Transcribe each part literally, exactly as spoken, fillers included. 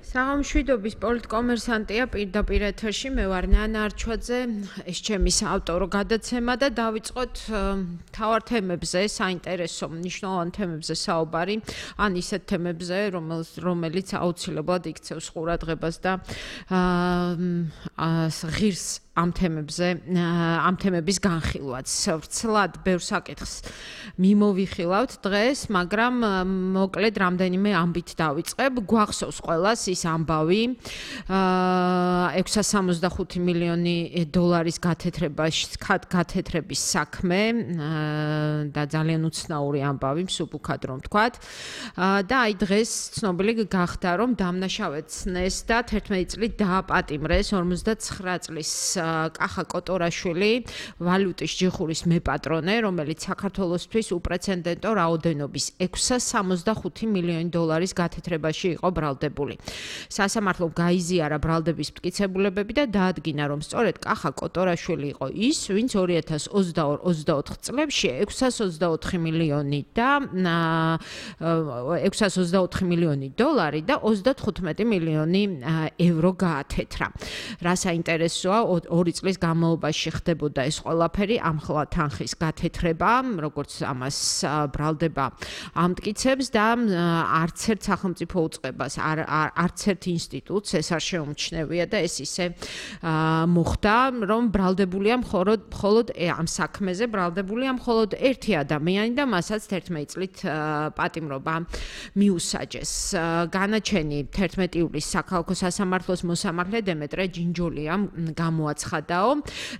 საღამშვიდობის პოლიტკომერსანტია პირდაპირ ეთერში, მე ვარ ნანა არჩვაძე, ეს ჩემი საავტორო გადაცემა და დავიწყოთ მთავარ თემებზე, საინტერესო მნიშვნელოვან თემებზე საუბარი, ან ისეთ თემებზე, რომელიც აუცილებლად იქცევს ყურადღებას და ღირს ამ თემებზე, ამ თემების განხილვაც. ვრცლად ბევრ საკითხს მიმოვიხილავთ დღეს, მაგრამ მოკლედ რამდენიმე ამბით დავიწყებ. გვახსოვს ყველას ის ამბავი ექვსას სამოცდახუთი მილიონი დოლარის გათეთრების საქმე და ძალიან უცნაური ამბავი, მსუბუქად რომ ვთქვათ. და აი დღეს ცნობილი გახდა, რომ დამნაშავედ ცნეს და თერთმეტი წლით დააპატიმრეს ორმოცდაცხრა წლის კახა კოტორაშვილი, ვალუტის ჯიხურის მეპატრონე, რომელიც საქართველოსთვის უპრეცედენტო რაოდენობის ექვსას სამოცდახუთი მილიონი დოლარის გათეთრებაში იყო ბრალდებული. სასამართლომ გაიზიარა ბრალდების მტკიცებულებები და დაადგინა, რომ სწორედ კახა კოტორაშვილი იყო ის, ვინც ორი ათას ოცდაოთხ წლებში ექვსას ოცდაოთხი მილიონი და ექვსას ოცდაოთხი მილიონი დოლარი და ოცდათხუთმეტი მილიონი ევრო გაათეთრა. რა საინტერესოა, ორი წლის განმავლობაში ხდებოდა ეს ყველაფერი, ამხლა თანხის გათეთრება, როგორც ამას ბრალდება ამტკიცებს და არც ერთ სახელმწიფო უწყებას, არც ერთ ინსტიტუტს ეს არ შეუმჩნევია და ეს ისე მოხდა, რომ ბრალდებულია მხოლოდ ამ საქმეზე ბრალდებულია მხოლოდ ერთი ადამიანი და მასაც თერთმეტი წლით პატიმრობა მიუსაჯეს. განაჩენი თერთმეტი ივლისს საქალაქო სასამართლოს მოსამართლე დემეტრე ჯინჯოლიამ გამოაცხადაო.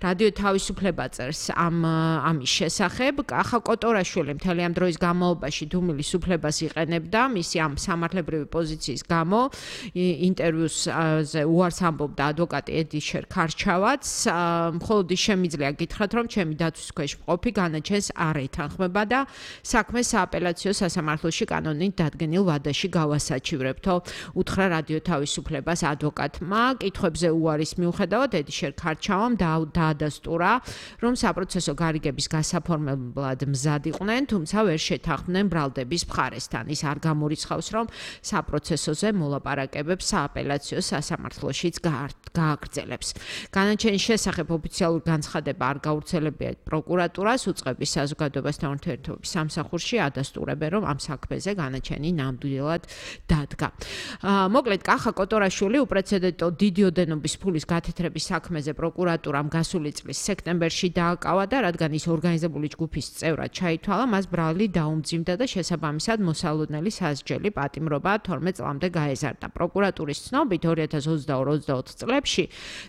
რადიო თავისუფლება წერს ამ ამის შესახებ. კახა კოტორაშვილი მთელი ამ დროის განმავლობაში დუმილის უფლებას იყენებდა მისი ამ სამართლებრივი პოზიციის გამო. ინტერვიუზე უარს ამბობდა ადვოკატი ედიშერ ქარჩავაც. მხოლოდ ის შემიძლია გითხრათ, რომ ჩემი დაცვის ქვეშ მყოფი განაჩენს არ ეთანხმება და საქმე სააპელაციო სასამართლოში კანონით დადგენილ ვადაში გავასაჩივრებთო, უთხრა რადიო თავისუფლებას ადვოკატმა. კითხვებზე უარის მიუხედავად ედიშერ ქარჩავამ დაადასტურა, რომ საპროცესო გარიგების გასაფორმებლად მზად იყვნენ, თუმცა ვერ შეთანხმდნენ ბრალდების მხარესთან. ის არ გამორიცხავს, რომ საპროცესოზე მოლაპარაკებებს სააპელაციო სასამართლოშიც გააგრძელებს. განაჩენის შესახებ ოფიციალური განცხადება არ გავრცელებია პროკურატურას, უწყების საზოგადოებასთან ურთიერთობების სამსახურში ადასტურებენ, რომ ამ საქმეზე განაჩენი ნამდვილად დადგა. მოკლედ, კახა კოტორაშვილი უპრეცედენტო დიდი ოდენობის ფულის გათეთრების საქმეზე პროკურატურამ გასული წლის სექტემბერში დააკავა და რადგან ის ორგანიზებული ჯგუფის წევრად ჩაითვალა, მას ბრალი დაუმძიმდა და შესაბამისად მოსალოდნელი სასჯელი პატიმრობა თორმეტ წლამდე გაეზარდა. პროკურატურის ცნობით ორი ათას ოცდაორი ოცდაოთხ წლებში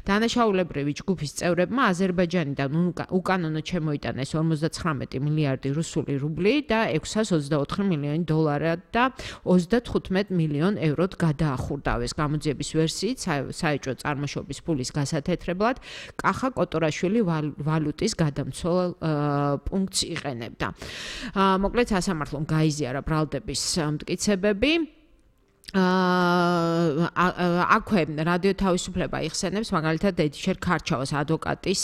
დანაშაულებრივი ჯგუფის წევრებმა აზერბაიჯანიდან უკანონოდ შემოიტანეს ორმოცდაცხრამეტი მილიარდი რუსული რუბლი და ექვსას ოცდაოთხი მილიონი დოლარი და ოცდათხუთმეტ მილიონ ევროდ გადაახურდავეს. გამოძიების ვერსიით საეჭვო წარმოშობის ფულის გასათეთრებლად კახა კოტორაშვილი ვალუტის გადამცველ პუნქტს იყენებდა. მოკლედ სასამართლომ გაიზიარა ბრალდების მტკიცებები. აქვე რადიო თავისუფლება იხსენებს მაგალითად ედიშერ ქარჩავას ადვოკატის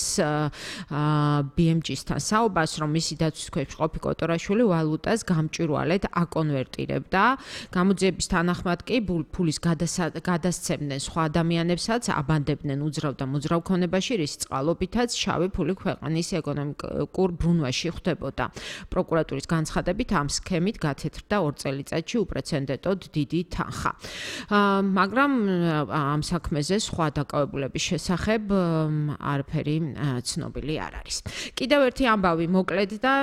ბი ემ ჯი-სთან საუბარს, რომ მისი დაცვის ქვეშ მყოფი კოტორაშვილი ვალუტას გამჭვირვალედ აკონვერტირებდა. გამოძიების თანახმად კი ფულის გადასცემდნენ სხვა ადამიანებსაც, აბანდებდნენ უძრავ და მოძრავ ქონებაში, რის წყალობითაც შავი ფული ქვეყნის ეკონომიკურ ბრუნვაში ხდებოდა. პროკურატურის განცხადებით ამ სქემით გათეთრდა ორ წელიწადში უპრეცედენტოდ დიდი თანხა. მაგრამ ამ საქმეზე სხვა დაკავებულების შესახებ არაფერი ცნობილი არ არის. კიდევ ერთი ამბავი მოკლედ და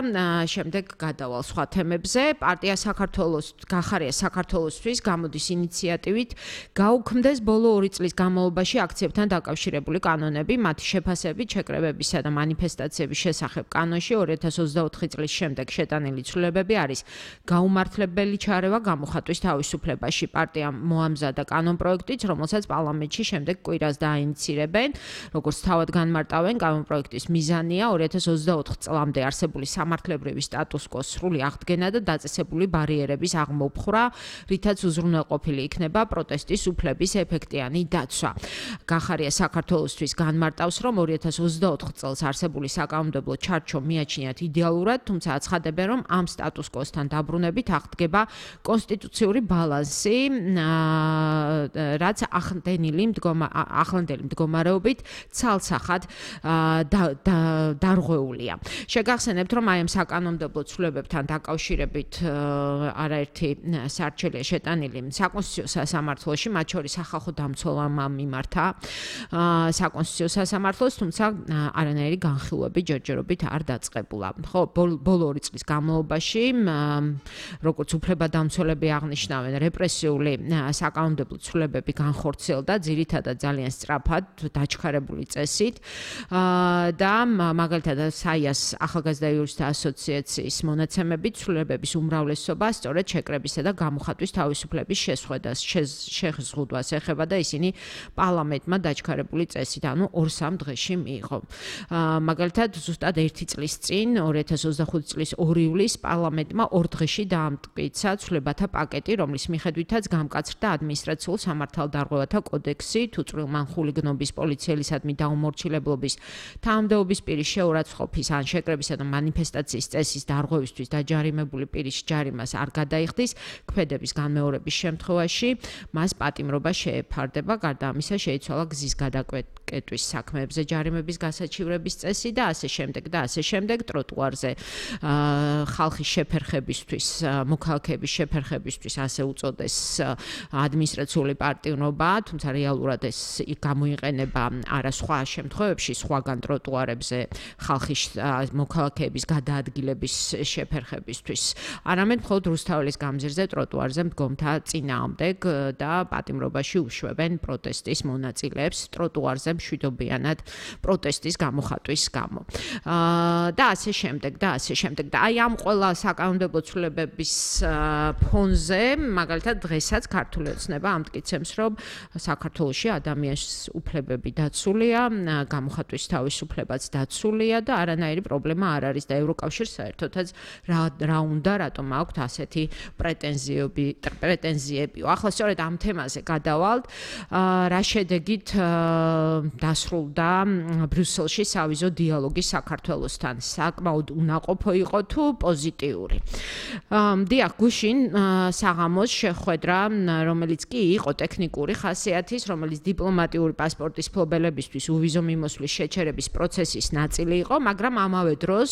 შემდეგ გადავალ სხვა თემებზე. პარტია საქართველოს გახარია საქართველოსთვის გამოდის ინიციატივით გაუქმდეს ბოლო ორი წლის განმავლობაში აქციებთან დაკავშირებული კანონები, მათი შეფასებით შეკრებებისა და მანიფესტაციების შესახებ კანონში ორი ათას ოცდაოთხი წლის შემდეგ შეტანილი ცვლილებები არის გაუმართლებელი ჩარევა გამოხატვის თავისუფლებაში. პარტიამ მოამზადა კანონპროექტიც, რომელსაც პარლამენტში შემდეგ კვირას დააინიცირებენ. როგორც თავად განმარტავენ, კანონპროექტის მიზანია ორი ათას ოცდაოთხ წლამდე არსებული სამართლებრივი სტატუს-კვოს სრული აღდგენა და დაწესებული ბარიერების აღმოფხვრა, რითაც უზრუნველყოფილი იქნება პროტესტის უფლების ეფექტიანი დაცვა. გახარია საქართველოსთვის განმარტავს, რომ ორი ათას ოცდაოთხ წელს არსებული საკანონმდებლო ჩარჩო მიაჩნიათ იდეალურად, თუმცა აცხადებენ, რომ ამ სტატუს კვოსთან დაბრუნებით აღდგება კონსტიტუციური ბალანსი, რაც ახლანდელი მდგომა ახლანდელი მდგომარეობით ცალსახად დარღვეულია. შეგახსენებთ, რომ აი ამ საკანონმდებლო ცვლილებებთან დაკავშირებით არაერთი სარჩელია შეტანილი საკონსტიტუციო სასამართლოში, მათ შორის სახალხო დამცველმა მიმართა საკონსტიტუციო სასამართლოს, თუმცა არანაირი განხილვები ჯერჯერობით არ დაწყებულა. ხო, ბოლო ორი წლის განმავლობაში, როგორც უფლებადამცველები აღნიშნავენ, რეპრესიული საკანონმდებლო ცვლილებები განხორციელდა ძირითადად ძალიან სწრაფად, დაჩქარებული წესით და მაგალითად საიას ახალგაზრდა იურისტთა ასოციაციის მონაცემებით ცვლილებების უმრავლესობა სწორედ შეკრებისა და გამოხატვის თავისუფლების შესხვედას შეზღუდვას ეხება და ისინი პარლამენტმა დაჩქარებული წესით, ანუ ორ-სამ დღეში მიიღო. მაგალითად, ზუსტად ერთი წლის წინ, ორი ათას ოცდახუთი წლის ორი ივლისს პარლამენტმა ორ დღეში დაამტკიცა ცვლილებათა პაკეტი, რომლის მიხედვითაც გამკაცრდა ადმინისტრაციულ სამართალდარღვევათა კოდექსი, თუ წვრილმანხული გნობის პოლიციელისადმი დაუმორჩილებლობის, თანამდებობის პირის შეურაცხყოფის ან შეკრებისა და მანიფესტაციის წესის დარღვევისთვის დაჯარიმებული პირის ჯარიმას არ გადაიხდის, ქმედების განმეორების შემთხვევაში მას პატიმრობა შეეფარდება, გარდა ამისა შეიცვალა გზის გადაკეტვის საქმეებზე ჯარიმების გასაჩივრების წესი და ასე შემდეგ და ასე შემდეგ ტროტუარზე ხალხის შეფერხებისთვის, მოქალაქეების შეფერხებისთვის ასე უწოდეს ადმინისტრაციული პატიმრობა, თუმცა რეალურად ეს გამოიყენება არა სხვა შემთხვევებში, სხვაგან ტროტუარებზე ხალხის მოქალაქეების გადაადგილების შეფერხებისთვის, არამედ მხოლოდ რუსთაველის გამზირზე ტროტუარზე მდგომთა წინააღმდეგ და პატიმრობაში უშვებენ პროტესტის მონაწილეებს ტროტუარზე მშვიდობიანად პროტესტის გამოხატვის გამო. და ასე შემდეგ და ასე შემდეგ და აი ამ ყველა საკანონმდებლო ცვლილებების ფონზე, მაგალითად დღესაც ქართული ოცნება ამტკიცებს, რომ საქართველოში ადამიანის უფლებები დაცულია, გამოხატვის თავისუფლებაც დაცულია და არანაირი პრობლემა არ არის და ევროკავშირს საერთოდაც რა უნდა, რატომ აქვთ ასეთი პრეტენზიები, პრეტენზიები. ახლა სწორედ ამ თემაზე გადავალთ, რა შედეგით დასრულდა ბრიუსელში სავიზო დიალოგი საქართველოსთან. საკმაოდ უნაყოფო იყო თუ პოზიტიური. დიახ, გუშინ საღამოს შეხვედრა, რომელიც კი იყო ტექნიკური ხასიათის, რომელიც დიპლომატიური პასპორტის მფლობელებისთვის უვიზო მიმოსვლის შეჩერების პროცესის ნაწილი იყო, მაგრამ ამავე დროს